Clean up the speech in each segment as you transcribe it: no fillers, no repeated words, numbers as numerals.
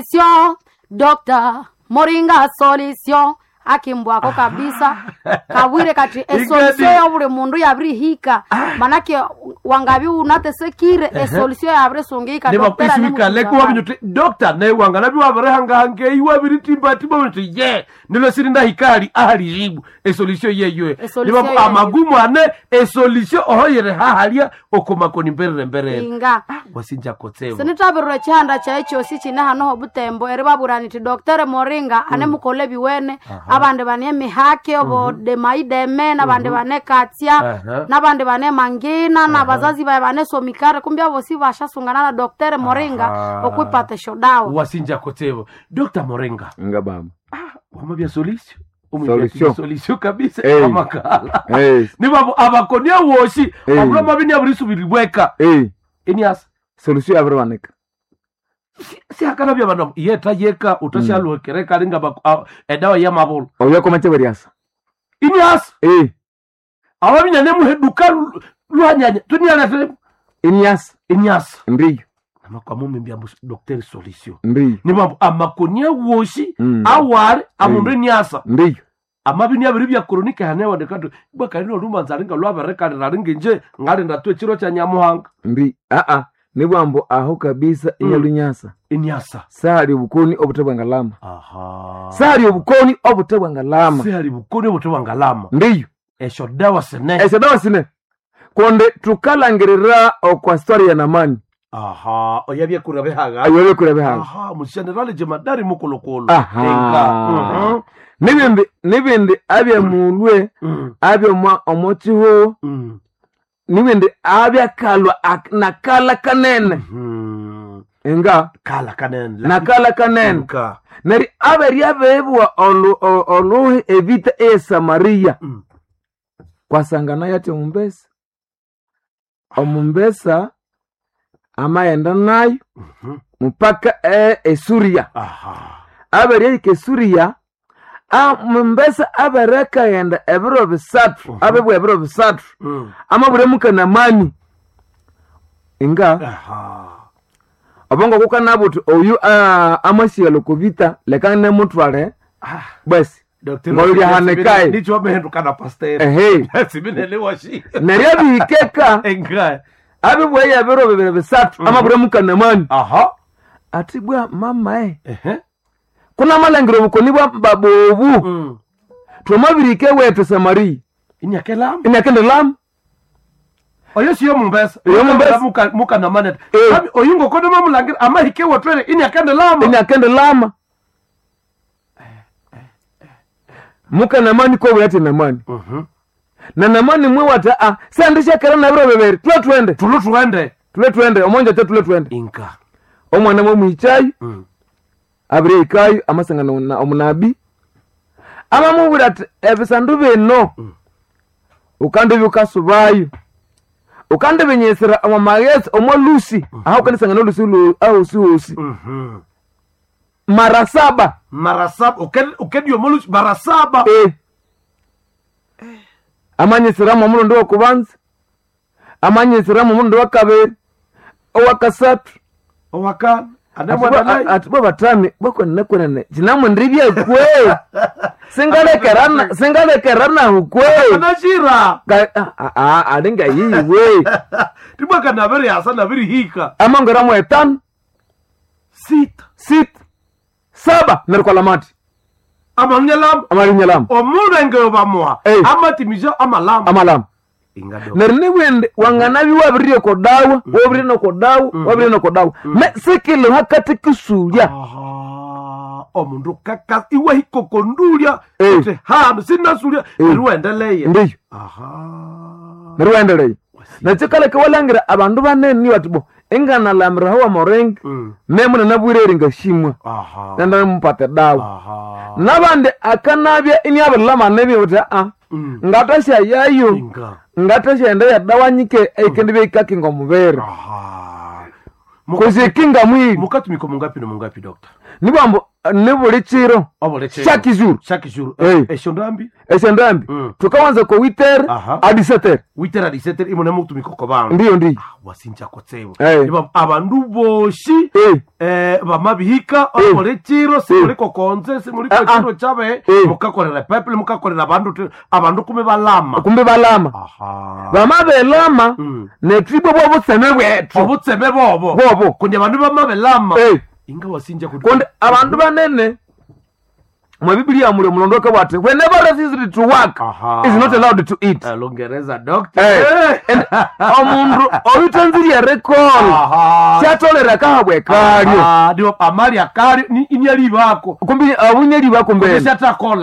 Solution, Dr. Moringa solution akimbwako kabisa kabwire kati esolution ya buli mundu yabirihika manake wangabi unatesekire esolution yabirisungika Dr. nivakwisivikaleko wavinyuti dokta naye wanganavi wavirihangahangei waviritimbatimba uti ye nilo sirindahikali ahalijibu esolution yeyoe Esolution nivaku yeyo. amagumu ane esolution ohoyere hahalya okomakoni mberere mberere inga wasinja kotsevo sinithabirira ekihanda kyayi kyosi kine hano obutembo eribabwira niti Dr. Moringa ane mukole biwene abandi bane emihake obodemaideme nabandi bane katsya Aha. nabandi bane mangina nabazazi baye bane somikare kumbi abosi bashasungana na Dr. Moringa Aha. okwipata esyodawa wasinja kotsevo dokta moringa Nga baba. wamabya solution Solution. solution kabisa Eh. amakala Eh, nivavu abakonia wosi Eh. abula mavini avirisuviribweka eh, eniasa solution yabiribanika. siakana vya vanhu yeta yeka utashaluhekereka ringa edawa ya mavulu Oyo komache beriasa. iniasa Eh, awavinyane muheduka luhanyanya tunialete iniasa. iniasa Ndiyo, namakwamumimbya docteur solution ndiyo. ni mambo amakonia wosi Mm. awari amundu eniasa Ndiyo. amavini aviri vya kronika hanewandekatu bwakalino lumanza ringa lwaverekalira ringinje ngalinda tu echiro cha nyamuhanga Ndi. Ah ah. Nibwambo aho kabisa inyalunyasa. eniasa Sali obukoni obutebwa ngalama. aha Sali obukoni obutebwa ngalama. sihali bukoni obutebwa ngalama Ndiyo. esho dawa sene Esyo dawa sine. Konde tukalangirira okwa story ya Namani. aha oyabyekura bihaga Ayo kure bihaga. aha mushenerali jemadari mukulukulu Aha. Enga. Mhm. Nibindi nibindi abyemulwe Mm. abyomwa omochiho Mm. nibindi abyakalwa nakala kanene Mhm. nga kala kanene nakala kanene Enga. neri aberi abebwa oluhi evita esamariya Mm. kwasangana yati omumbesa omumbesa amayenda nayo Mhm. mupaka esuria aha aberi ahika esuria mumbesa aberekaghenda ebiro bisathu abebwa ebiro bisathu Mm. amabure mukanamani inga aha obongo kukanabuthi oyu amasighela okuvita leka nemutwale Ah, basi Dr. Ngoyo lyahanikaye. Nicho wamehendukana pastor ehe siminele washi neryo abihikeka enga abibweya ebiro bibiri bisathu amabure mukanamani aha ati bwa mama e ehe kunamalangiro obukoni bwa babobu Mm. twamabirike wethu samariya inyakelama inakendelamu oyo siyo mumbesa Oyo mumbesa. mukanamane Eh. oyu ngokono mamulangira amahike wotwele inyakendelama inakendelama mukanamani kobuyati namani Mhm. na namani mwe wata a sandishakera nabiro bibiri tule twende tulu twende tule twende omonja te tule twende inka omwana mwe Mm. abire ikayo amasangano na omunabi amamubwira ati ebisandu bino ukandi bikasubayo ukandi binyisira omu maghetse omo lusi aha ukandisangana olusi ahosi hosi Mhm. mara saba mara saba ukedio molusi mara saba eh. amanyisiramu omulundi wokubanza amanyisiramu omulundi wakabiri owakasathu owakana anemwana ati bwa batami bwakwenene cinamwendri byekwe singalekerana singalekeranahu kwe anashira alinga yiwe tibwaka nabiri hasa nabirihika amangeramu etano sita sita saba nerikola mati amanyalama amalinyalama omulenge bamuha Eh. amatimisha amalama amalama inga do neryo nibwende wanganabi wabirire kodawa wabirire nokodawa wabirire nokodawa me sikili hakati kisulya aha omundu kaka iwe hikokondulya Eh. uti hanu sinasulya Eh. neryo wendeleye ndiyo aha neryo wendeleye nakikaleka walangira abandu banene bati bo inganalamira hawa moringa Mm. nemuna nabwire ngashimwa aha nenda mupate dawa aha nabandi akanabya iniabirilama nebi uti aa Mm. ngatashayayo inga ngatashaenda yadawa nyike eikendi beikakinga omubiri aha kuzikinga mwili mukatumika mungapi na mungapi dokta nibwambo Ni buli chiro Obuli chiro. chaque jour Chaque jour. Eh. Esyo ndambi esyandambi tukawanza ko 8h Aha. a 17h witera 17 imune mutumika oko bandu. ndiyo ndiyo Wasinja kotsewo. Eh. Iba abandu boshi Eh. bamabihika Eh. obuli chiro simuli kokonze simuli Ah, ah. kochiro chabe Eh. mukakolera peple mukakolera abandu abandu kume balama. kumbe balama Aha. bamabelama netwibwe bwobutseme bwethu Obutseme bobo. Bobo. Kundi abandu bamabelama. Eh. Inga wasinja kuti. kundi abandu banene mwe bibiliya muli omulondo akabwati whenever refused to work Aha. is not allowed to eat Lungereza doctor. Eh, and omundu oyutanzirye erikola Aha. syatolera kahabwe kalyo Ah, ndio amali akali ni inyalibako. kumbi abunyeli bakumbene Kundi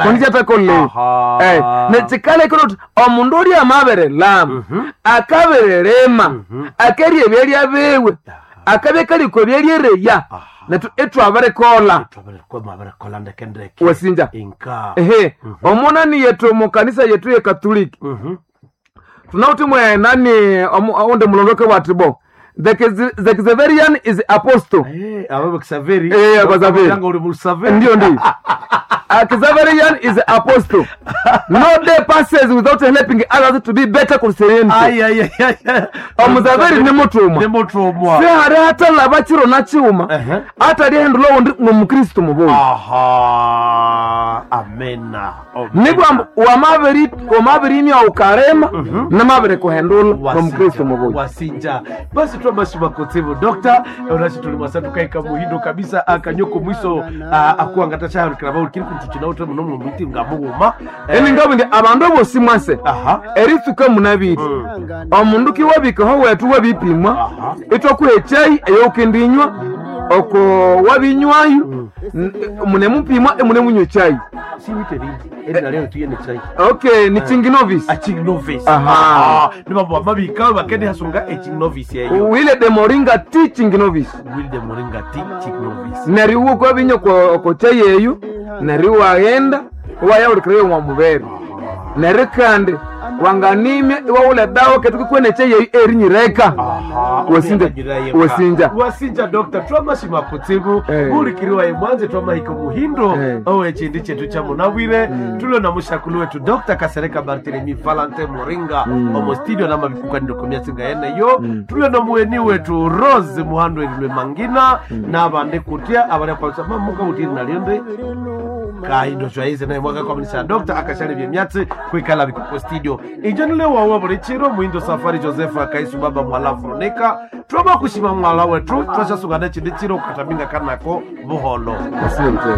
kundishyatakola Aha. eh nechikalekera uti omundu ulya amaberelama akaberelema akerya ebyalya biwe akabya kaliko ebyalyereya netu itwaberikola Twaberikola ndeke ndeke. Wasinja. Inka. ehe omunani yetu mukanisa yetu ye katoliki tunauti mwe nani onde mulondoke wati bo the Xaverian is apostle Eh, abo Xaveri. Eh, abo Xaveri. Yanga uli mu Xaveri. Ndio ndio. Xaverian is apostle. No day passes without helping others to be better Christianity. Ai ai ai ai. Omuzaveri ni mutumwa. Ni mutumwa. Sihari hatalaba chiro na chiuma Ehe. atalihendula wundi ng'omukristo mubuyi Aha. Amena. nibwa wamabirimya ukarema namabirikuhendula ng'omukristo mubuyi wasinja basi twamashima kotsivu dokta onashi tuli mwasa tukaika muhindo kabisa akanyoko mwiso akuangata chahalikira bauli kuntu chinauta muno mumiti ngamughuma eni ngabu ndi abandu bosi mwase aha eritsuka munabiri omundu kiwabikaho wetu wabipimwa Aha. itwakuha echayi eyoukendinywa oko wabinywayo munemupimwa emunemunywa echayi siwite ringi eri naleo tuye ni chai okay ni chinginovis aching novice Aha. ni mambo amabika bakende hasunga aching novice yeyo wile de moringa ti chinginovis will the moringa tea ching novice neryo iwe ukabinywa oko chayi eyo neryo iwaghenda iwayawulikirayo mwa mubere neryo kandi wanganimya iwawula edawa ketukikwana echayi eyo erinyireka Wasinja. Wasinja. wasinja dokta twamashima kutsibu Eh. bulikiriwa imwanze twamahika muhindo Eh. owe chindi chetu cha munabwire tulio na mushakulu wetu dokta kasereka barthelemy valentin moringa omo studio namabikukanilo komyatsinga yeneyo tulio na muweni wetu rose muhando erilwe mangina nabandi kutya abalyakwalisa mamuka utiri nalyonde kaindo zvaize naye mwakakwamisa dokta akashale vyemyatsi kwikala vikoko studio injo wawa buli chiro muindo safari joseph akaisu baba mwala veronica twama kushima mwala wetu twashasungana chindi chiro kukataminga kanako buholo Asante.